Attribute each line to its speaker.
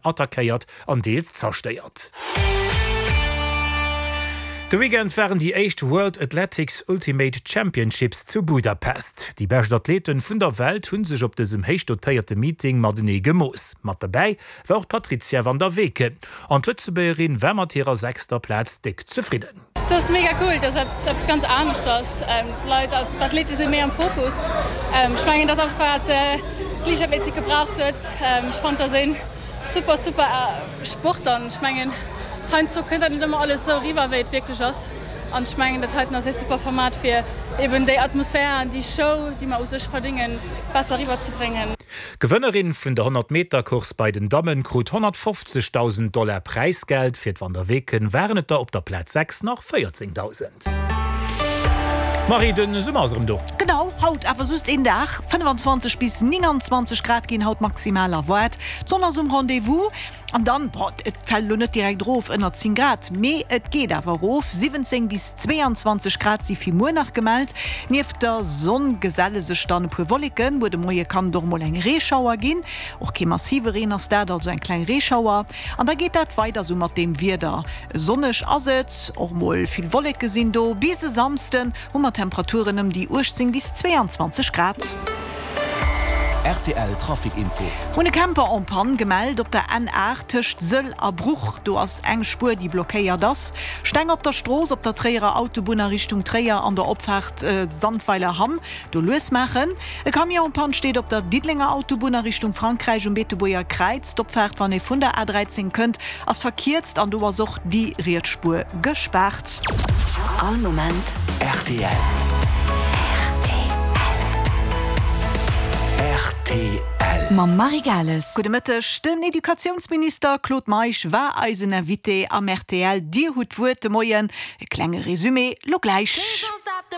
Speaker 1: Attackéiert an deels zerstéiert. De Weekend waren déi éischt World Athletics Ultimate Championships zu Budapest. Déi bescht Athleten vun der Welt hu sech op dësem héich dotéierte Meeting matenee gemooss. Mat derbäi war och d'Patrizia van der Weken. An d'Lëtzebuergerin war mat hirer sechster Plaz déck zefridden.
Speaker 2: Dat ass mega cool, dat ass eppes ganz aneschters. D'Leit, also d'Athlete si méi am Fokus. Ech mengen, dat ass eppes, wat d'Liichtathletik gebraucht huet. Ech fannen, dat ass ee super, super Sport an ech mengen, heiansdo kënnt dat net ëmmer alles esou eriwwer, wéi et wierklech ass. An ech mengen, dat heiten ass ee super Format, fir eben déi Atmosphär an déi Show, déi mer u sech verdéngen, besser eriwwerzebréngen.
Speaker 1: D'Gewënnerin vun der 100 Meter Course bei den Dammen krut 150.000 Dollar Präisgeld. Fir d'Van der Weken waren et der op der Plaz 6 nach 14.000. Marie, den Summer ass erëm do.
Speaker 3: Genau, haut awer just een Dag. 25 bis 29 Grad ginn haut maximal erwaart. D'Sonn ass um Rendez-vous. An dann, bon, et fält elo net direkt erof ënner 10 Grad, mee et geet awer erof, 17 bis 22 Grad si fir muer nach gemellt. Nieft der Sonn geselle sech dann e puer Wolleken. Muer de Moie kann et och mol eng Reeschauer ginn, och kee massive Reen ass dat, also eng kleng Reeschauer. An da geet dat weider sou mat deem Wieder, sonneg ass et, och mol vill Wolleke sinn do. Bis e Samsden hu mer Temperaturen ëm déi 18 bis 22 Grad.
Speaker 4: Rtl Trafic Info.
Speaker 3: Hunn e Camper en panne gemellt op der N8 tëscht Sëll a Bruch. Do ass eng Spuer déi blockéiert ass. Steng op der Strooss op der Tréierer Autobunn a Richtung Tréier an der Opfaart Sandweiler Hamm. Do lues maachen. E Camion en panne steet op der Diddelenger Autobunn a Richtung Frankräich um Beetebuerger Kräiz. D'Opfaart wann ee vun der A13 kënnt ass verkierzt an do ass och déi riets Spuer gespaart.
Speaker 4: All Moment rtl. Rtl.
Speaker 5: Mam Marie Gales.
Speaker 3: Gudde Mëtteg. Den Educatiounsminister Claude Meisch war eisen Invité am rtl Dir hutt d'Wuert de Moien. E klenge Resumé lo gläich.